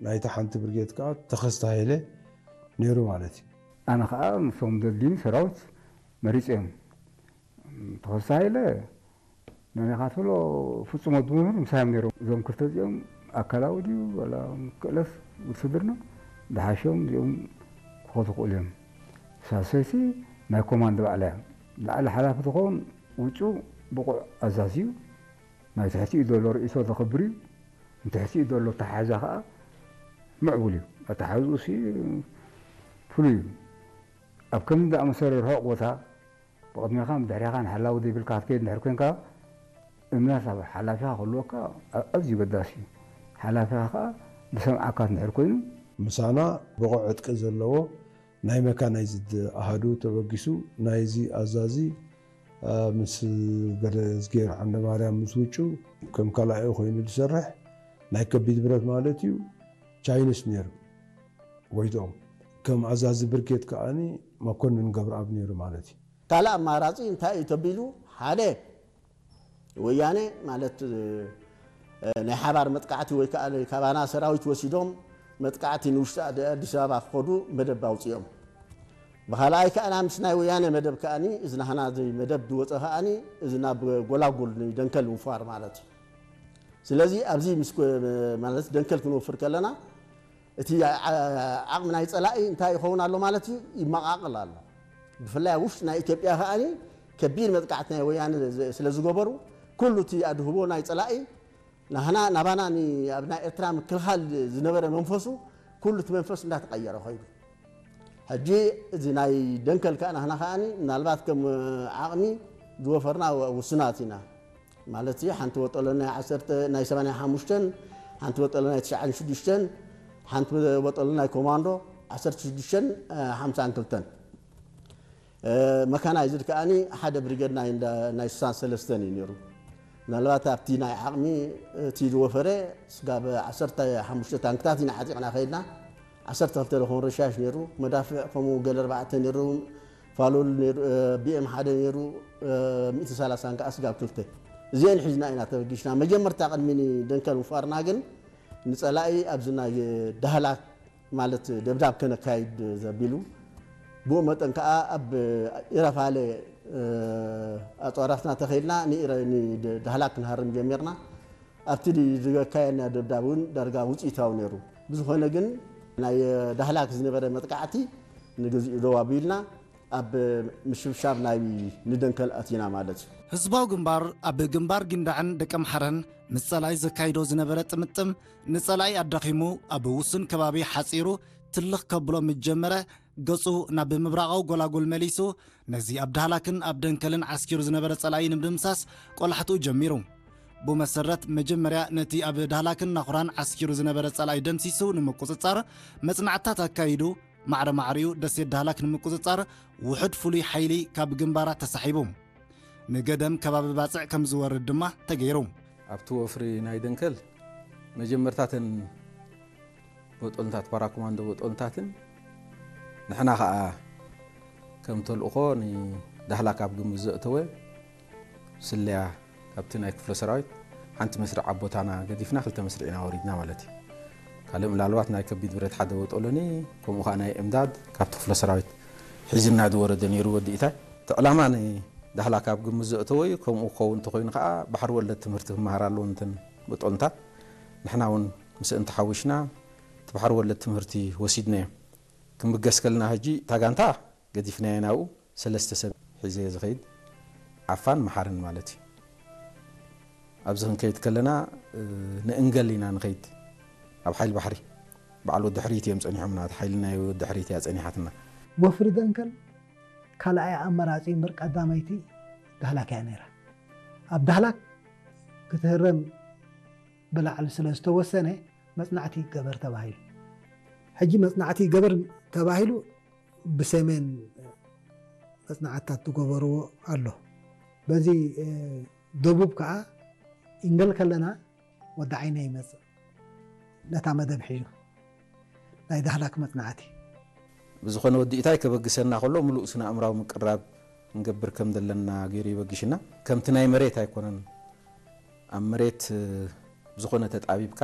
ናይታ ሓንቲ ብርጌድ ከዓ ተኸስተ ሃይለ ነይሩ ማለት እዩ። ኣነ ከዓ ንሶም ዘድልዩኒ ሰራዊት መሪፀ እዮም። ተኸስተ ሃይለ ነኒኻ ትብሎ ፍጹም ወዲ መምህር ምሳዮም ነይሮም። እዞም ክልተ እዚኦም ኣካላዊ ድዩ ዋላ ክእለት ውትድርና ዝሓሾም እዚኦም ክኾቱ ክእሉ እዮም። ሳልሰይቲ ናይ ኮማንድ ባዕላ እያ። ላዕሊ ሓላፊ ትኸውን ውጩ ብቑዕ ኣዛዚ እዩ። ናይ ትሕቲኡ ዘሎ ርእይቶ ዘኽብር እዩ። ንትሕቲኡ ዘሎ ኣተሓሕዛ ከዓ ምዕቡል እዩ። ኣተሓሕዝኡ ሲ ፍሉይ እዩ። ኣብ ከምዚ ዝኣመሰለ ርሑቕ ቦታ ብቕድሜኻን ብድሕሬኻን ሓላዊ ዘይብልካ ክትከይድ እንድሕር ኮንካ እምነት ኣብ ሓላፊኻ ክህልወካ ኣዝዩ ገዳሲ እዩ። ሓላፊኻ ከዓ ዝሰምዓካ እንድሕር ኮይኑ ምሳና ብቑዕ ዕጥቂ ዘለዎ ናይ መካናይዝድ ኣሃዱ ተበጊሱ ናይዚ ኣዛዚ ምስ ገለዝጌር ዓንደማርያም ምስ ውጩ ከም ካልኣዩ ኮይኑ ዝሰርሕ ናይ ከቢድ ብረት ማለት እዩ። ቻይንስ ነይሩ ጎይትኦም ከም ኣዛዚ ብርጌድ ከዓኒ መኮንን ገብረኣብ ነይሩ ማለት እዩ። ካልእ ኣማራፂ እንታይ እዩ ተቢሉ ሓደ ወያነ ማለት ናይ ሓባር መጥቃዕቲ ወይ ከዓ ካባና ሰራዊት ወሲዶም መጥቃዕቲ ንውሽጢ ኣዲስ ኣበባ ክኸዱ መደብ ኣውፅኦም። ብካልኣይ ከዓ ምስ ናይ ወያነ መደብ ከዓኒ እዚ ናህና መደብ ዝወፀ ከዓኒ እዚ ናብ ጎላጉል ንደንከል ምውፋር ማለት እዩ። ስለዚ ኣብዚ ምስ ማለት ደንከል ክንወፍር ከለና እቲ ዓቕሚ ናይ ፀላኢ እንታይ ይኸውን ኣሎ ማለት እዩ ይመቓቕል ኣሎ። ብፍላይ ኣብ ውሽጢ ናይ ኢትዮጵያ ከዓኒ ከቢድ መጥቃዕቲ ናይ ወያነ ስለ ዝገበሩ ኩሉ እቲ ኣድህቦ ናይ ፀላኢ ናህና ናባና ኣብ ናይ ኤርትራ ምክልኻል ዝነበረ መንፈሱ ኩሉ እቲ መንፈስ እንዳተቐየረ ኸይዱ። ሕጂ እዚ ናይ ደንከል ከዓ ናህና ከዓኒ ምናልባት ከም ዓቕሚ ዝወፈርና ውሱናት ኢና። ማለት ሓንቲ ወጠሎ ናይ ዓሰርተ ናይ ሰማንያ ሓሙሽተን ሓንቲ ወጠሎ ናይ ትሽዓን ሽዱሽተን ሓንቲ ወጠሎ ናይ ኮማንዶ ዓሰርተ ሽዱሽተን ሓምሳን ክልተን መካናይዝድ ከዓኒ ሓደ ብሪገድ ናይ ናይ ስሳን ሰለስተን እዩ ነይሩ። ምናልባት ኣብቲ ናይ ዓቕሚ እቲ ዝወፈረ ስጋብ ዓሰርተ ሓሙሽተ ታንክታት ኢና ዓጢቕና ከይድና። ዓሰርተ ክልተ ዝኾን ረሻሽ ነይሩ፣ መዳፍዕ ከምኡ ገለ ኣርባዕተ ነይሩ፣ ፋሉል ነይሩ፣ ቢኤም ሓደ ነይሩ፣ ሚእቲ ሰላሳን ከዓ ስጋብ ክልተ እዚአን ሒዝና ኢና ተበጊስና። መጀመርታ ቅድሚ ንደንከል ምፋርና ግን ንፀላኢ ኣብዚ ናይ ዳህላክ ማለት ደብዳብ ከነካይድ ዘቢሉ ብኡ መጠን ከዓ ኣብ ኢረፋለ ኣፅዋራትና ተኸይልና ንዳህላክ ክንሃርም ጀሚርና። ኣብቲ ዝገካየና ደብዳብ እውን ዳርጋ ውፅኢታዊ ነይሩ። ብዝኾነ ግን ናይ ዳህላክ ዝነበረ መጥቃዕቲ ንግዚኡ ደው ኣቢልና ኣብ ምሽብሻብ ናይ ንደንከል ኣቲና ማለት እዩ። ህዝባዊ ግንባር ኣብ ግንባር ጊንዳዕን ደቀምሓረን ምስ ጸላኢ ዘካይዶ ዝነበረ ጥምጥም ንጸላኢ ኣዳኺሙ ኣብ ውሱን ከባቢ ሓጺሩ ትልኽ ከብሎ ምስ ጀመረ ገጹ ናብ ምብራቓዊ ጎላጉል መሊሱ ነዚ ኣብ ዳህላክን ኣብ ደንከልን ዓስኪሩ ዝነበረ ጸላኢ ንምድምሳስ ቆላሕትኡ ጀሚሩ። ብኡ መሰረት መጀመርያ ነቲ ኣብ ዳህላክን ናኹራን ዓስኪሩ ዝነበረ ጸላኢ ደምሲሱ ንምቁጽጻር መጽናዕትታት ኣካይዱ ማዕረ ማዕሪኡ ደሴት ዳህላክ ንምቁጽጻር ውሑድ ፍሉይ ሓይሊ ካብ ግንባራት ተሳሒቡ ንገደም ከባቢ ባጽዕ ከም ዝወርድ ድማ ተገይሩ። ኣብቲ ወፍሪ ናይ ደንከል መጀመርታተን ቦጦልንታት ፓራኮማንዶ ቦጦልንታትን ንሕና ኸኣ ከም ተልእኾ ንዳህላክ ኣብ ግምት ዘእተወ ስለያ ካብቲ ናይ ክፍለ ሰራዊት ሓንቲ መስርዕ ኣብ ቦታና ገዲፍና ክልተ መስርዕ ኢና ወሪድና ማለት እዩ። ካልእ ምናልባት ናይ ከቢድ ብረት ሓደ ወጠሎኒ ከምኡ ከዓ ናይ እምዳድ ካብቲ ክፍለ ሰራዊት ሒዝና ዝወረደ ነይሩ ወዲ ኢታይ። እቲ ዕላማ ንዳህላክ ኣብ ግምት ዘእተወ እዩ። ከምኡ ክኸውን እንተኮይኑ ከዓ ባሕሪ ወለድ ትምህርቲ ክመሃር ኣለዎ እንተን ቦጦልንታት ንሕና እውን ምስእን ተሓዊስና እቲ ባሕሪ ወለድ ትምህርቲ ወሲድናዮ። ክንብገስ ከለና ሕጂ እታ ጋንታ ገዲፍናዮ ናብኡ ሰለስተ ሰብ ሒዘ ዝኸይድ ዓፋን መሓርን ማለት እዩ። ኣብዚ ክንከይድ ከለና ንእንገል ኢና ንኸይድ ኣብ ሓይል ባሕሪ በዓል ወዲ ሕርይት እዮም ጸኒሖምና። እቲ ሓይሊ ናይ ወዲ ሕርይት እያ ጸኒሓትና። ወፍሪ ደንከል ካልኣይ ኣመራጺ እምበር ቀዳመይቲ ዳህላክ እያ ነይራ። ኣብ ዳህላክ ክትህረም ብላዕሊ ስለ ዝተወሰነ መጽናዕቲ ይገበር ተባሂሉ። ሕጂ መጽናዕቲ ይገበር ተባሂሉ ብሰሜን መጽናዕትታት ዝገበርዎ ኣሎ። በዚ ደቡብ ከዓ ኢንገል ከለና ወዲ ዓይነ ይመጽእ ነታ መደብ ሒዙ ናይ ዳህላክ መጽናዕቲ። ብዝኾነ ወዲ ኢታይ ከበግሰና ከሎ ምሉእ ስነ ኣእምራዊ ምቅራብ ክንገብር ከም ዘለና ገይሩ ይበግሽና። ከምቲ ናይ መሬት ኣይኮነን። ኣብ መሬት ብዝኾነ ተጣቢብካ